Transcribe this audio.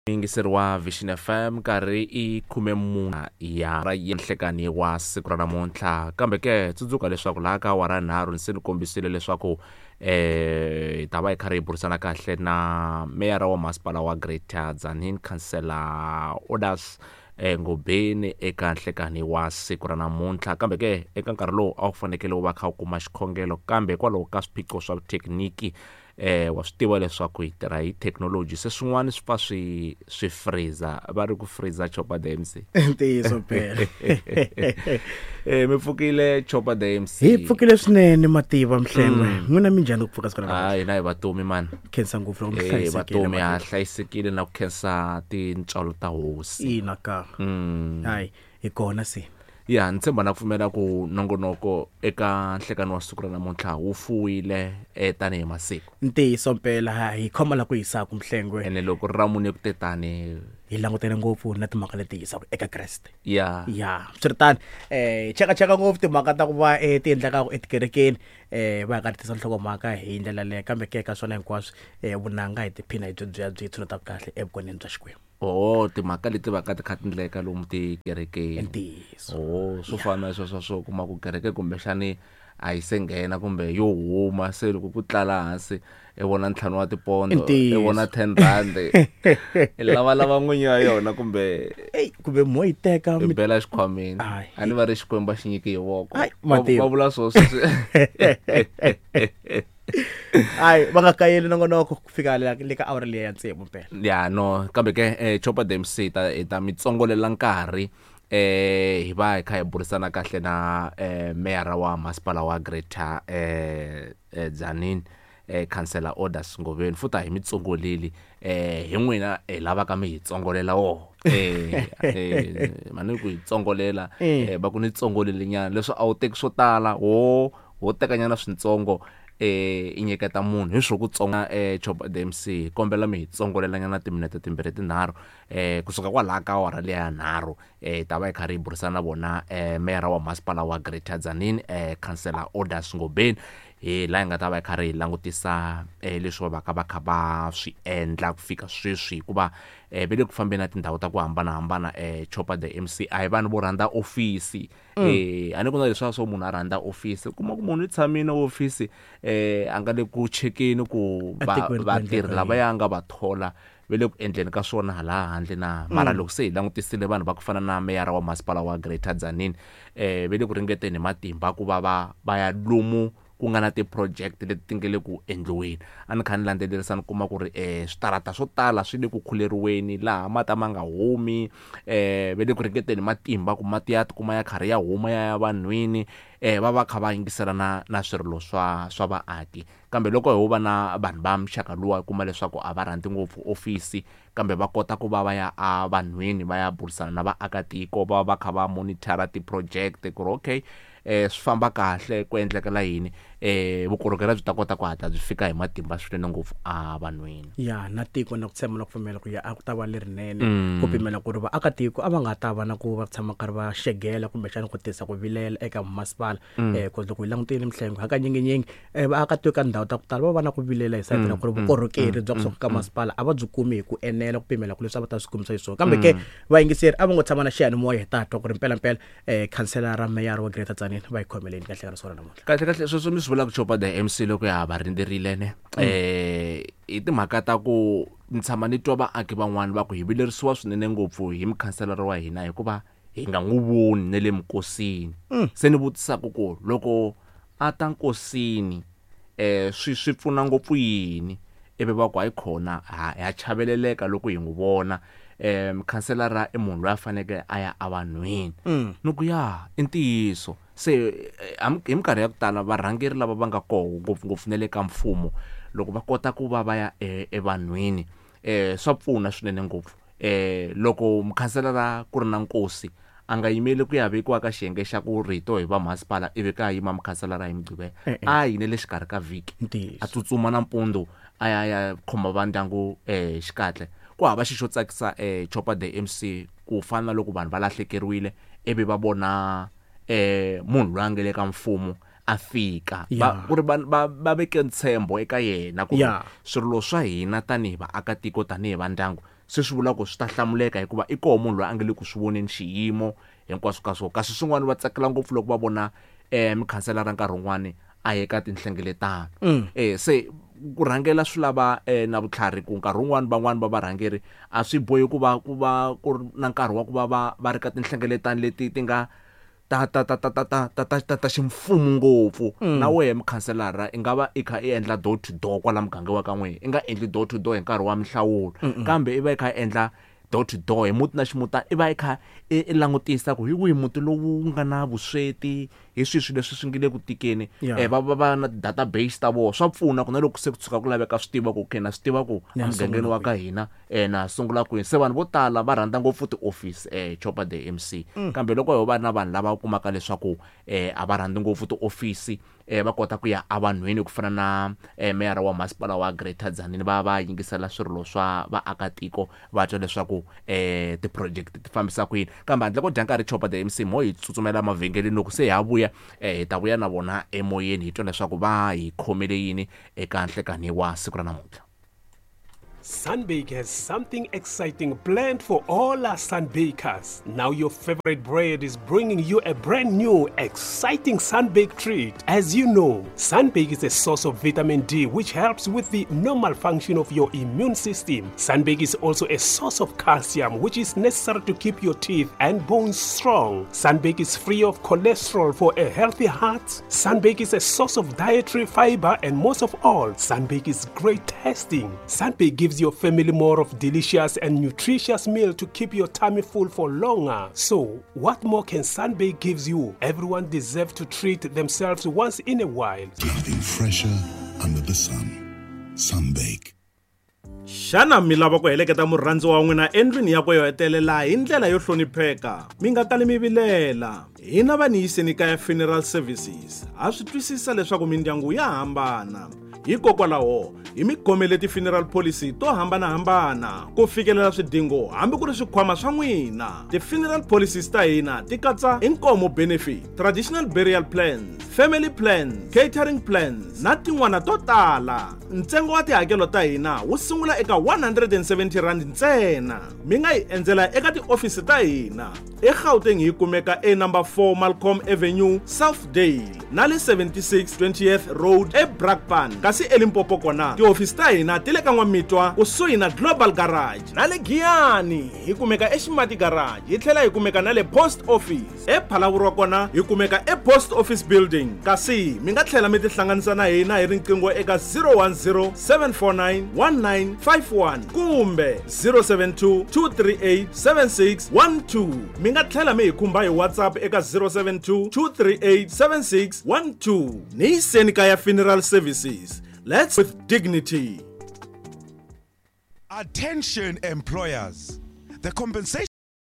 Muyingiseri wa Vision FM, nkarhi i 14 ya ra nhlekani wa siku ra namuntlha. Kambe ke tsundzuka leswaku laha ka awara nharhu ni se ni kombisile leswaku hi ta va hi karhi hi burisana kahle na meyara wa masipala wa Greater Tzaneen, Councillor Orders Ngobeni eka nhlekani wa siku ra namuntlha. Kambe ke eka nkarhi lowu a wu fanekele wu va kha wu kuma xikhongelo, kambe hikwalaho ka swiphiqo swa thekiniki, wa swi tiva leswaku hi tirha hi thekinoloji, se swin'wana swi pfa swi freezer, va ri ku freezer Chopper the MC. Ntiyiso phela. Mi pfukile Chopper the MC? Hi pfukile swinene Mativa Mhlengwe. N'wina minjhani ku pfuka siku ra namuntlha? Hina hi vatomi mani. Khensa ngopfu loko mi hlayisekile. Vatomi ha hlayisekile na ku khensa tintswalo ta hosi. Ina ka. Hayi hi kona se. Ya, ni tshemba na ku pfumela ku nongonoko eka nhlekani wa siku ra namuntlha wu fuwile tanihi masiku. Ntiyiso mpela hi khoma la ku hisaka Mhlengwe. Ene loko ri ra mune ku te tani hi langutele ngopfu na timhaka leti hisaka eka Kreste. Ya. Ya, swiritano cheka cheka ngopfu timhaka ta ku va ti endlekaka etikerekeni, va ka tisa nhlokomhaka hi ndlela leyo, kambe ke ka swona hinkwaswo vunanga hi tiphina hi byo bya byi tshuneta kahle evukoneni bya Xikwembu. Oh, timhaka leti va ka ti kha ti ndleka lomu tikerekeni. Ntiyiso. Oh, swo fana na sweswo swo kuma ku kereke kumbexani a yi se nghena kumbe yo huma, se loko ku tlala hansi i vona 5 wa tipondo, i vona 10 rand, i lavalava n'winyi wa yona kumbe ei kumbe mo yi teka i bela xikhwameni. A ni va ri Xikwembu a xi nyiki hi voko. Va vula swo sweswi. Hayi va nga kayeli nongonoko ku fika le ka awara liya ya tsevu mpela. Ya no, kambe ke Chopper the MC hi ta mi tsongolela nkarhi hi va hi kha hi burisana kahle na meyara wa masipala wa Greater Tzaneen, Councillor Orders Ngobeni. Futhi a hi mi tsongoleli, hi n'wina hi lavaka mi hi tsongolela woho. Mani ku hi tsongolela, va ku ni tsongolele nyana leswi a wu teki swo tala, ho tekanyana swintsongo, i nyiketa munhu hi swo ku tsonga. Chopper the MC, kombela mi hi tsongolela nyana timinete timbirhi tinharhu, kusuka kwalaha ka awara liya ya nharhu, hi ta va hi karhi hi burisana na vona meyara wa masipala wa Greater Tzaneen, Councillor Orders Ngobeni, hi laha hi nga ta va hi karhi hi langutisa leswi va vaka va kha va swi endla ku fika sweswi, hikuva va le ku fambeni na tindhawu ta ku hambanahambana. Chopper the MC a hi vanhu vo rhandza ofisi. A ni ku na leswiya swo munhu a rhandza ofisi, u kuma ku munhu i tshamile ofisi, a nga le ku chekeni ku vatirhi lavaya nga va thola va le ku endleni ka swona hala handle na. Mara loko se hi langutisile vanhu va ku fana na meyara wa masipala wa Greater Tzaneen, va le ku ringeteni hi matimba ku va va ya lomu ku nga na ti-project leti ti nga le ku endliweni. A ni kha ni landzelerisa ni kuma ku ri switarata swo tala swi le ku khuleriweni laha mati a ma nga humi, va le ku ringeteni matimba ku mati ya tikuma ya karhi ya huma ya ya vanhwini, va va kha va yingisela na swirilo swa vaaki. Kambe loko ho va na vanhu va muxaka luwa u kuma leswaku a va rhandzi ngopfu ofisi, kambe va kota ku va va ya a vanhwini va ya burisana na vaakatiko, va va kha va monitor ti-project ku ri okay, swi famba kahle, ku endlekela yini, vukorhokeri byi ta kota ku hatla byi fika hi matimba swinene ngopfu a vanhwini. Ya na tiko na ku tshemba na ku pfumela ku ya a ku ta va lerinene, ku pimela ku ri vaakatiko a va nga ta va na ku va tshama karhi va xegela kumbexana ku tisa ku vilela eka masipala. Ku loko hi langutile Mhlengwe hakanyinginyingi vaakatiko ka ndhawu ta ku tala va va na ku vilela hi sayiti ra ku ri vukorhokeri bya kusuka ka masipala a va byi kumi hi ku enela ku pimela ku leswi a va ta swi kumisa xiswona. Kambe ke vayingiseri a va ngo tshama na xiyanimoya hi ta twa ku ri mpelampela khanselara meyara wa Greater Tzaneen va hi khomeleni kahle ka risiku ra namuntlha. Kahle kahle sweswo mi swi vulaka Chopper the MC loko ya ha va rindzerile ne, hi timhaka ta ku ni tshama ni twa vaaki van'wani va ku hi vilerisiwa swinene ngopfu hi mukhanselara wa hina hikuva hi nga n'wi voni ne le minkosini. Se ni vutisaka ku loko a ta nkosini, swi pfuna ngopfu yini, ivi va ku hayi khona ha chaveleleka loko hi n'wi vona. Mukhanselara i munhu loyi a faneleke a ya evanhwini. Ni ku ya i ntiyiso. Se hi minkarhi ya ku tala varhangeri lava va nga koho ngopfungopfu na le ka mfumo, loko va kota ku va va ya evanhwini, swa pfuna swinene ngopfu. Loko mukhanselara ku ri na nkosi, a nga yimeli ku ya vekiwa ka xiyenge xa ku rito hi va masipala ivi ka yima mukhanselara hi Mugqivela. A yi ne le xikarhi ka vhiki, a tsutsuma nampundzu a ya ya khoma va ndyangu xikatle. Ku hava xi xo tsakisa Chopper the MC ku fana na loko vanhu va lahlekeriwile ivi va vona munhu loyi a nga le ka mfumo A fika va ku ri va veke ntshembo eka yena ku swirilo swa hina tanihi vaakatiko, tanihi va ndyangu, se swi vula ku swi ta hlamuleka hikuva i koho munhu loyi a nga le ku swi voneni xiyimo hinkwaswo ka swona. Kasi swin'wana va tsakela ngopfu loko va vona mukhanselara nkarhi wun'wani a ye ka tinhlengeletano. Se ku rhangela swi lava na vutlhari ku nkarhi wun'wani van'wani va varhangeri a swi bohi ku va ku va ku ri na nkarhi wa ku va va ri ka tinhlengeletano leti ti nga ta ta ta ta ta ta ta ta ta ta ximfumo ngopfu. Na wehe mukhanselara i nga va i kha i endla door to door kwala muganga wa ka n'wina, i nga endli door to door hi nkarhi wa minhlawulo, kambe i va i kha i endla door to door hi muti na ximutana, i va i kha i langutisa ku hi wihi muti lowu nga na vusweti, hi swihi swilo leswi swi nge le ku tikeni. Va va va na database ta vona, swa pfuna ku na loko se ku tshuka ku laveka swi tiva ku okay na swi tiva ku emugangeni wa ka hina na sungula kwini. Se vanhu vo tala va rhandza ngopfu ti-office, Chopper the MC, kambe loko ho va na vanhu lava kumaka leswaku a va rhandzi ngopfu ti-office, va kota ku ya evanhwini ku fana na meyara wa masipala wa Greater Tzaneen, va va yingisela swirilo swa vaakatiko, va twa leswaku ti-project ti fambisa ku yini. Kambe handle ko dya nkarhi, Chopper the MC, mo hi tsutsumela mavhengeleni, loko se ha vuya hi ta vuya na vona emoyeni hi twa leswaku va hi khomele yini eka nhlekani wa siku ra namuntlha. Sunbake has something exciting planned for all our Sunbakers. Now your favorite bread is bringing you a brand new, exciting Sunbake treat. As you know, Sunbake is a source of vitamin D, which helps with the normal function of your immune system. Sunbake is also a source of calcium, which is necessary to keep your teeth and bones strong. Sunbake is free of cholesterol for a healthy heart. Sunbake is a source of dietary fiber, and most of all, Sunbake is great tasting. Sunbake gives your family more of delicious and nutritious meal to keep your tummy full for longer. So, what more can Sunbake gives you? Everyone deserves to treat themselves once in a while. Nothing fresher under the sun. Sunbake. Xana mi lava ku heleketa murhandziwa wa n'wina endlwini yakwe yo hetelela hi ndlela yo hlonipheka? Mi nga kali mi vilela. Hina va Niyiseni Kaya Funeral Services ha swi twisisa leswaku mindyangu ya hambana. Hikokwalaho hi mi khomele ti-funeral policy to hambanahambana ku fikelela swidingo hambi ku ri swikhwama swa n'wina. Ti-funeral policies ta hina ti katsa inkomo benefit, traditional burial plans, family plans, catering plans na tin'wana to tala. Ntsengo wa tihakelo ta hina wu sungula eka 170 rand ntsena. Mi nga hi endzela eka tiofisi ta hina eGauteng, hi kumeka e number 4 Malcolm Avenue, Southdale, na le 76 20th Road eBrakpan. Kasi eLimpopo kona tihofisi ta hina ti le ka N'wamitwa kusuhi na Global Garage, na le Giyani hi kumeka eXimati Garage, hi tlhela hi kumeka na le Post Office. ePhalaborwa kona hi kumeka ePost Office Building. Kasi mi nga tlhela mi tihlanganisa na hina hi riqingho eka 010 749 1951 kumbe 072 238 7612. Mi nga tlhela mi hi khumba hi WhatsApp eka 072 238 7612. Niyiseni Kaya Funeral Services. Let's with dignity. Attention employers. The compensation